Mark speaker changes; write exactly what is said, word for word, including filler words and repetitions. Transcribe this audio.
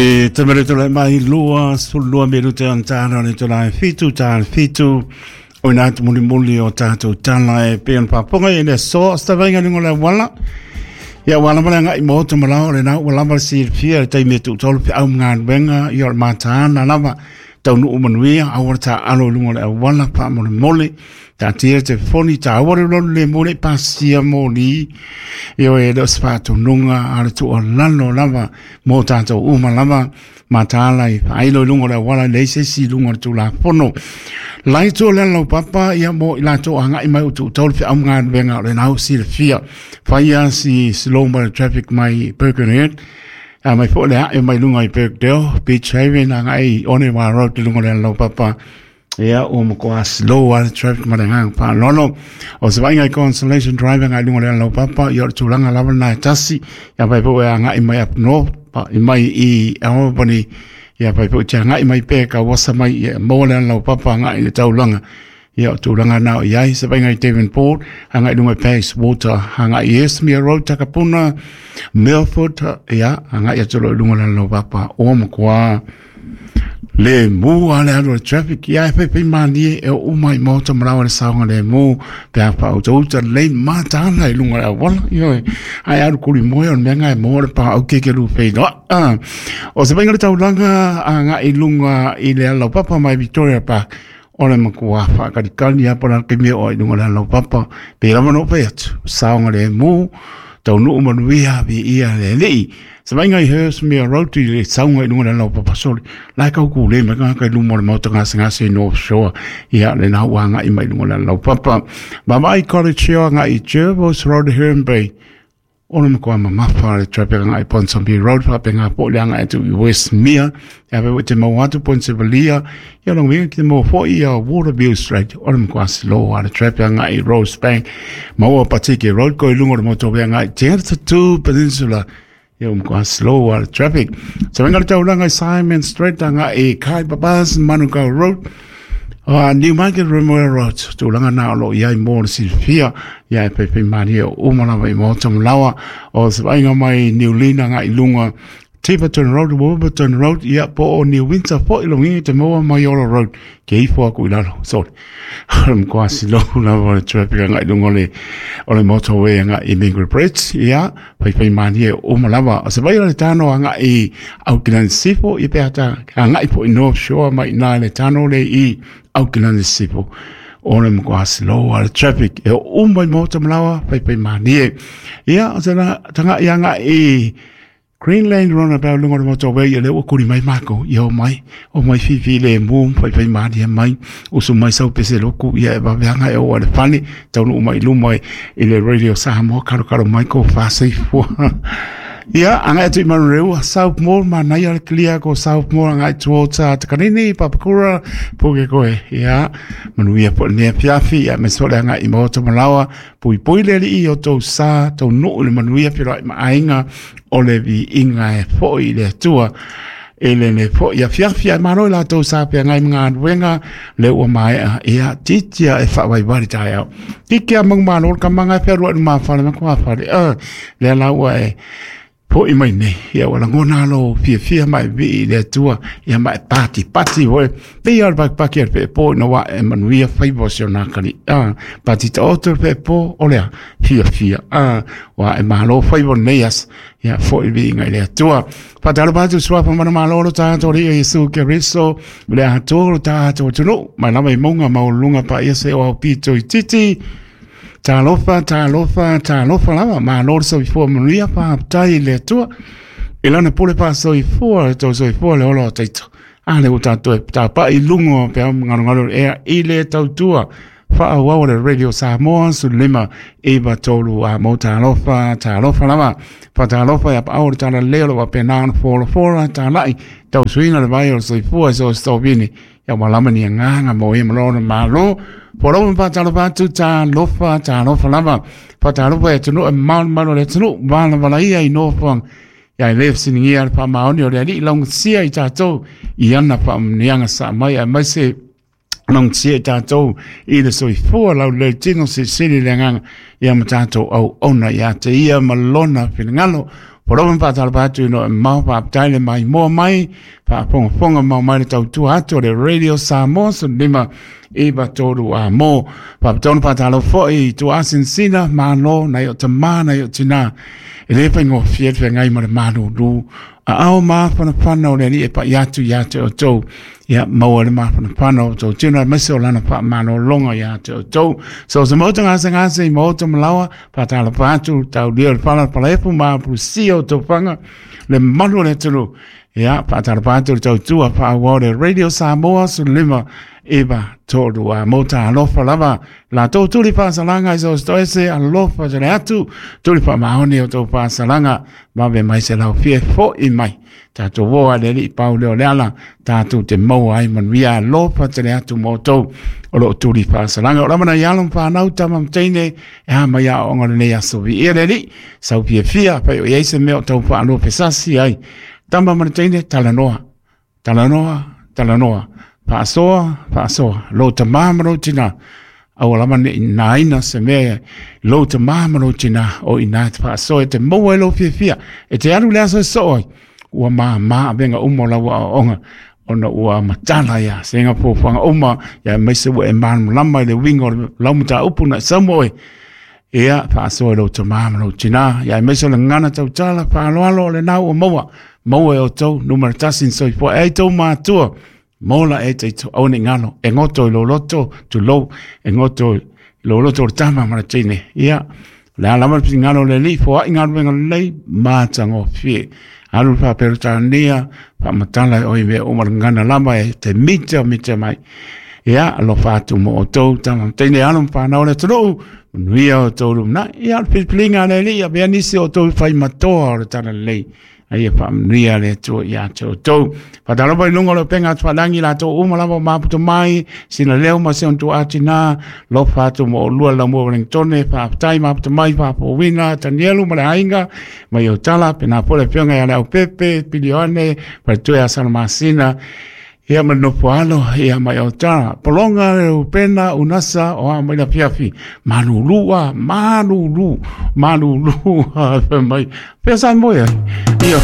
Speaker 1: E te mere tō mai lua sulua me rute an tāna le tō lai fitu tā fitu o nā te muli muli o tātou tala e peon paponga e le so stavenga lungo le wala ia wala mala ngai mo te malao le nā wala mala si fia te me tu tolu pe au ngā wenga i o mātāna lava tau nuu manuia awara tā alo lungo le wala pa mole mole tā tia te foni tā awara lolo le mole pasia moli io e leo spa nunga a le tua lalo lava mo tātou uma lava matala i whailo lungo le wala le se si lungo le tūla pono lai tō le lau papa ia mo i lātou a ngai mai o tū taulu pe au ngā wenga o le nau si le fia whaia si slow mo traffic mai Birkenhead a mai fo le a mai lunga i Birkdale Beach Haven a ngai one wa road te lungo le lau papa ia o mo koa slow a traffic ma le ngang pa lolo o se vainga i Consolation Drive ngai lunga le lau papa ia o tūlanga lava nai tasi ia pai po e ngai mai up north pa i mai i Albany ia pai po te ngai mai pe ka wasa mai ia mo le lau papa ngai le taulanga ia o tūlanga nao i ai se vainga i Devonport ngai lunga Pace Water ngai i Esmere Road Takapuna Milford ia ngai atu lunga le lau papa o mo koa le mu a le alo traffic ia e pepe mani e o mai moto marawa le saonga le mu pe a pa o uta le matana i lunga le wala io ai aru kuri moe o mea ngai mo le pa au keke lu pe no o se vainga le taulanga a ngai lunga i le alo papa mai Victoria Park o le makua whakarikani a pora ke mea o i lunga le alo papa pe lama no pe atu saonga le mu tau nuu manuia vi ia le lei se vainga i Hershmere Road i le saunga i lunga le lau papasoli lai kau ku le mai ngā kai lumo le mauta ngā ngā se North Shore ia le nau anga i mai lunga le lau papa Mamai College Shore ngā i Jervis Road Herne Bay o le makoa mamafa le traffic ngā i Ponsonby Road whape ngā po le anga atu i Westmere ia pe te mau atu Ponsevalia ia long winga ki te mau fo i a Waterview Street o le makoa slow a le traffic ngā i Rosebank maua Patiki Road ko i lunga le motorway ngā i Te Peninsula ia makoa slow a le traffic sa venga le taulanga i Simon Street ngā i Kai Babas Manukau Road Uh, Newmarket Remuera Road, tūlanga nā olo iai mō le silfia, ia e pepe mani o umalawa i mō tamlawa, o se vainga mai Niulina ngā i lunga Tiverton Road, Warburton Road, ia po o New Windsor po i longi te moa Maiora Road, ke ifo aku i lalo, sorry. Mkoa silo lava le traffic ngā i lunga le, o le motorway ngā i Mingary Bridge, ia, pai pai mani e umalawa. O se vainga le tano ngā i Auckland Sifo, i peata ngā i po i North Shore mai nā le tano le i Auckland Sifo. O le mkoa slow a le traffic, e umai mō tamlawa, pai pai mani e. Ia, o se na, tanga ia ngā i Greenland Roundabout lunga le motorway ia le ua kuri mai mako ia o mai o mai fifi le mu pai pai mani mai usu mai sau pese loku ia e waweanga e o le fane taunu mai lumai i le radio Samoa karo karo mai ko whāseifua ia anga atu i Manurewa South Mall manaia le clear ko South Mall anga towards uh, Takanini Papakura Pukekohe ia manuia po nea piafi ia me sole anga i Maota Malawa pui pui le li o tau sa tau nuu le manuia piro i maainga o le vi inga e fo i le atua e le le fo ia fiafia maro la tau sa pe ngai mga wenga le ua mai ia titia e fa wai wari tai au tikia mong malo ka manga fe ru ma fa le ma fa le le la ua e po i mai nei ia wala ngona lo fia fia mai vi le atua ia mai pati pati hoe pe ia bak pak ia pe po no wa e manuia fai bo se na kali a pati to to pe po o le fia fia a wa e malo fai bo nei as ia fo i vi ngai le atua patalo pa tu swa pa mana malo lo ta to ri Yesu Kristo le atua lo ta to tu no mai la mai monga mau lunga pa ia se o pito i titi Talofa, talofa, talofa lava, ma lor so ifua manuia pa tai le atua. E lana pole pa so ifua, tau so ifua le olo taito. A le uta toe, ta pa i lungo pe au ngaro ngaro ea i le tautua. Wha au le Radio Samoa, su lima iwa tolu a mo talofa, talofa lava. Pa talofa ia pa au le tala leo wa pe naan fora fora, talai. Tau suina le vai o so ifua so stopini. Ia walama ni nganga mo e malona malo. Poro pa talofa tu talofa talofa lava pa talofa e tunu e malu malu le tunu wala wala ia i nofang ia i le siningia le pa maoni o le ali long sia i tātou i ana pa mnianga sa mai a mai se long sia i tātou i le soifua lau le tino se sili le nganga ia ma tātou au ona ia te ia malona finangalo Poloman whaatalapa atu no mau whaaptai le mai moa mai whaapongaponga mau mai le tautua atu o le Radio Samoa so lima iwa tolu a mo whaaptonu whaatalo foi tu asinsina malo nai o tamā nai o tina e le whaingo fiet whengai ma le malulu a ao māwhanawhana o le ali e pa iatu ia te o tau ia maua le māwhanawhana o tau tino maise o lana wha manolonga ia te o tau so se mauta ngase ngase i mauta malawa whaatalapa atu tau leo le pala palaefu maapusia o tau whanga le malu le tulu ia whaatalapa atu le tau tua whaawao le Radio Samoa so lima iwa tolu a mota alofa lava la tau tuli whaasalanga i so stoese alofa jale atu tuli wha maoni o tau whaasalanga mawe mai se lau fie fo i mai tātou woa le li pau leo le ala tātou te maua ai manuia alofa jale atu mō tau o lo tuli whaasalanga o lamana i alom whanau tama mteine e ha mai a onga le nei aso vi ia le li sau fie fia pai o iei se mea o tau whaaloa pesasi ai tama mteine talanoa talanoa talanoa Paasoa, paasoa, lo te māmaro tina, aua lama ne nā ina se mea, lo te māmaro tina, o ina te paasoa, e te maua e lo fiafia, e te aru le aso e sooi, ua mā mā awenga umo laua o onga, ona ua matala ia, se nga pōwhanga uma, ia meise ua e māmlama i le winga o le laumata upu na samoe, ia paasoa e lo te māmaro tina, ia meise o le ngana tautala, paaloalo o le nau o maua, maua e o tau, numera tasin soifua, e tau mātua, Mola e te au ne ngalo e ngoto i loloto tu lo e ngoto i loloto o tama mara tine ia le alama le ngalo le li fo ai ngalo ngalo lei mata ngo fie alu pa perutania pa matala o i me o ngana lama e te mita mita mai ia alo fatu mo o tau tama tine alu pa na ole tulu nuia o tolu na ia pilpilinga le li ia be nisi o tau fai matoa o le tana lei ai pa mnia le tu ia te o tau patalopa i lunga o le penga atualangi la tau uma lava o maputo mai sina leo ma se ontu atina lo fatu mo lua la mo Wellingtone pa tai maputo mai pa wina Danielu ma le ainga mai o tala pena pole pionga ia le au pepe pilione pa tu ia salmasina ia ma nopo alo ia mai o tala polonga le upena unasa o a mai la fiafi malulua malulu malulua mai pesa moia ia.